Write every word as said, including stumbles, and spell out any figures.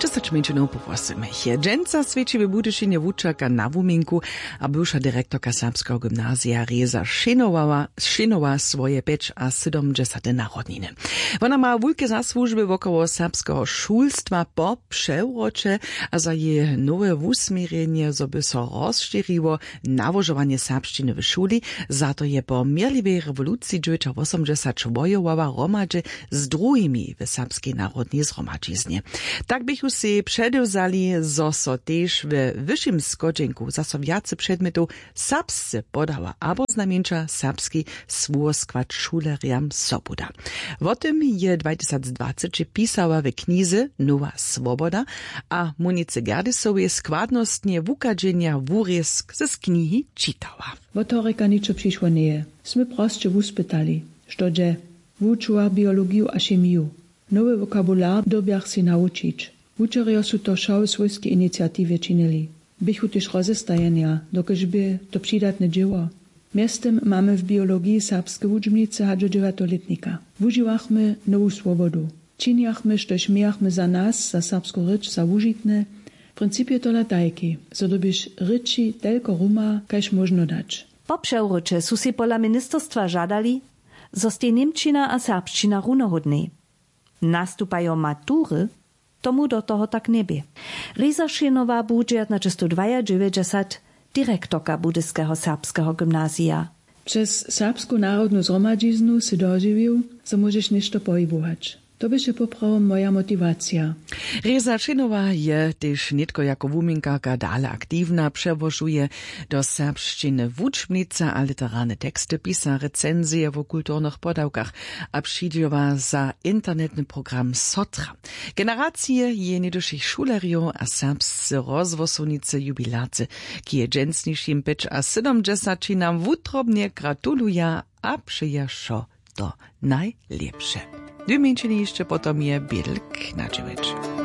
Dźesać mjeńšinow po wosymich je dźensa swědči w budyšinje wučerka na wuminku, a bywša direktorka serbskeho gymnazija reza šěnowa šěnowa swoje pjećasydomdźesate narodniny. Wona ma wulke zasłužby wokoło serbskeho šulstwa po přewroće, a za jeje nowe wusměrjenje zo by so rozšěriło nałožowanje serbšćiny w šuli. Za to je po měrliwej rewoluciji dźewjećawosomdźesat wojowała hromadźe z druhimi w serbskej narodnej zhromadźiznje. Tak běchu sej předewzali, zo so tež we wyšim schodźenku zaso wjace předmjetow serbsce podała abo znajmjeńša serbski słowoskład šulerjam sobuda. Wo tym je dwatysacdwaceći pisała w knize Nowa swoboda, a munice gerdisowej składnostnje wuchadźenja wurězk z knihi čitała. Wot horjeka ničo přišło njeje. Smy prosće wuspytali, što dźe. Wučułach biologiju a chemiju. Nowy wokabular dyrbjach sej nawučić. Wučerjo su to wšo w swójskej iniciatiwje činili. Běchu tež rozestajenja, dokelž bě to přidatne dźěło. Mjeztym mamy w biologiji serbske wučbnicy hač wot dźewjateho lětnika. Wužiwachmy nowu swobodu. Činjachmy štož mějachmy za nas, za serbsku rěč za wužitne. Princip je tola tajki, zo dyrbiš rěči telko ruma kaž móžno dać. Po přewróće su sej pola ministerstwa žadali, zo stej němčina a serbšćina runohódnej. Nastupajo matury, tomu do toho tak njebě. Reza šěnowa bu dźewjatnaćestowdwajadźewjećdźesat direktorka budyskeho serbskeho gymnazija. Přez serbsku narodnu zhromadźiznu sy dožiwił, zo móžeš něšto pohibować. To běše poprawom moja motiwacija. Reza šěnowa je tež nětko jako wuminkarka dale aktiwna, přełožuje do serbšćiny wučbnice a literarne teksty, pisa recenzije wo kulturnych podawkach a přidźěła za internetny program sotra. Generacije jeje něhdyšich šulerjow a serbsce rozhłosownicy jubilarce k jeje dźensnišim pjećasydomdźesaćinam wutrobnje gratuluja a přeja wšo to najlěpše. Dwě mjeńšiny hišće potom je bědl k nadźěłeć.